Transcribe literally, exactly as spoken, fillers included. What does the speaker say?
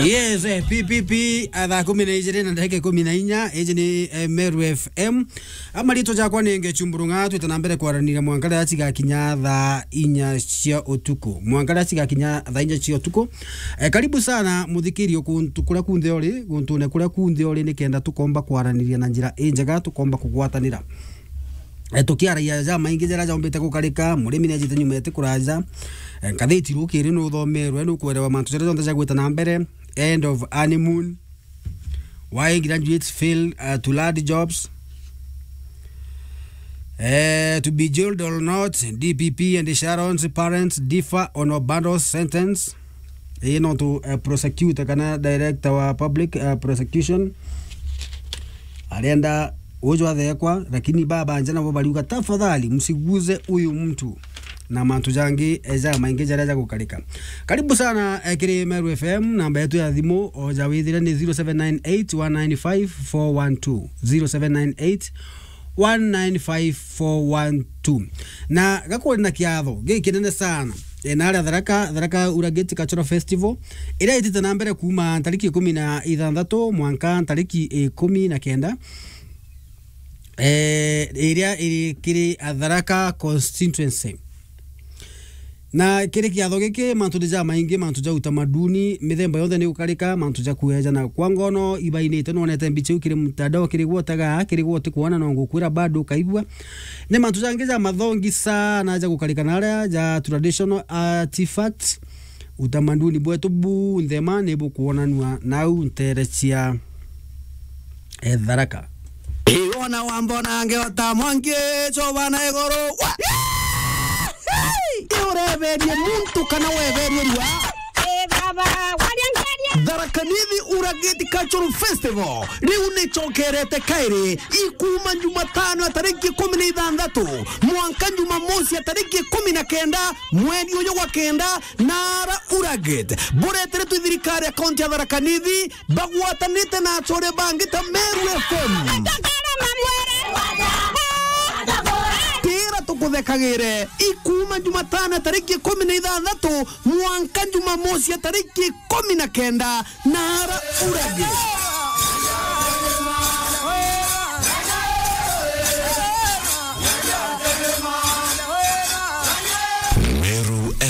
Yes, eh, P P P, a, thaa kumi na ijiri na ndagika ikumi na inya, iji ni, eh, Meru F M. A, mariitwa jakwa ni Ngechu Mburung'a, twite na mbere kwaraniria mwanka riria cigakinya thaa inya cia utuku. Mwanka riria cigakinya thaa inya cia utuku. Eh, karibu sana, muthikiri, o kuntu kuria kunthe uri, guntune kuria kunthe uri, nikenda tukomba kwaraniria na njira injega, tukomba kugwatanira. Eh, tukiaragia jamaingi jaria jombite gukarika, murimi ni ajite nyuma eti kuraja. Eh, ngathiti rukiri ni uthomerwe, ni ukwerewa mantu jaria jonthe jagwita na mbere. End of honeymoon. Why graduates fail, uh, to land jobs. Eh, to be jailed or not, D P P and Sharon's parents differ on Obando's sentence. Ii no tu, eh, prosecutor kana director wa public, eh, prosecution arenda uju athekwa, lakini baba nja nabo bariuga, "Tafadhali, msiguze huyu mtu," na mantu jangi, eh, jamaingi jaria jagukarika. Karibu sana, eh, kiri Meru F M, namba yetu ya thimu, o ja withire ni zero seven nine eight one nine five four one two, zero seven nine eight one nine five four one two. Na gakwari na kiatho gikinene sana, e, na aria Tharaka, Tharaka Urageti Cultural Festival, iria itite na mbere kuuma ntariki ikumi na ithanthatu mwanka ntariki ikumi na kenda, e, iria iri kiri Tharaka constituency. Na kiri kiatho giki, mantu ni jamaingi, mantu ja utamaduni, mithemba yonthe ni gukarika, mantu ja kueja na kwa ngono ibainite, nwonete mbicha iu kiri mtandao, kiri gwotaga, kiri gwote kwona, no ngukwira bado ukaigua. Ni mantu jangi ja mathongi sana ja gukarika na aria ja traditional artifacts, utamaduni bwetu bunthe ma ni bukwonanua nau ntere cia e, Tharaka. Iwona wambona ngeota mwangi choba na iguru. Wa- Iureberie muntu kana weberie rua. Eh, baba, waria ngeria. Tharaka Nithi Urageti Cultural Festival riu ni chokerete kairi, ikuma Jumatano ya tariki ikumi na ithanthatu mwanka Jumamosi ya tariki ikumi na kenda mweri uyu gwa kenda, na ara Urageti bureteretwe thirikari ya kaunti ya Tharaka Nithi bagwatanite na achore bangi ta Meru F M. Tira tukuthekagire, ikuma Jumatano ya tariki ikumi na ithanthatu mwanka Jumamosi ya tariki ikumi na kenda, na ara Urageti.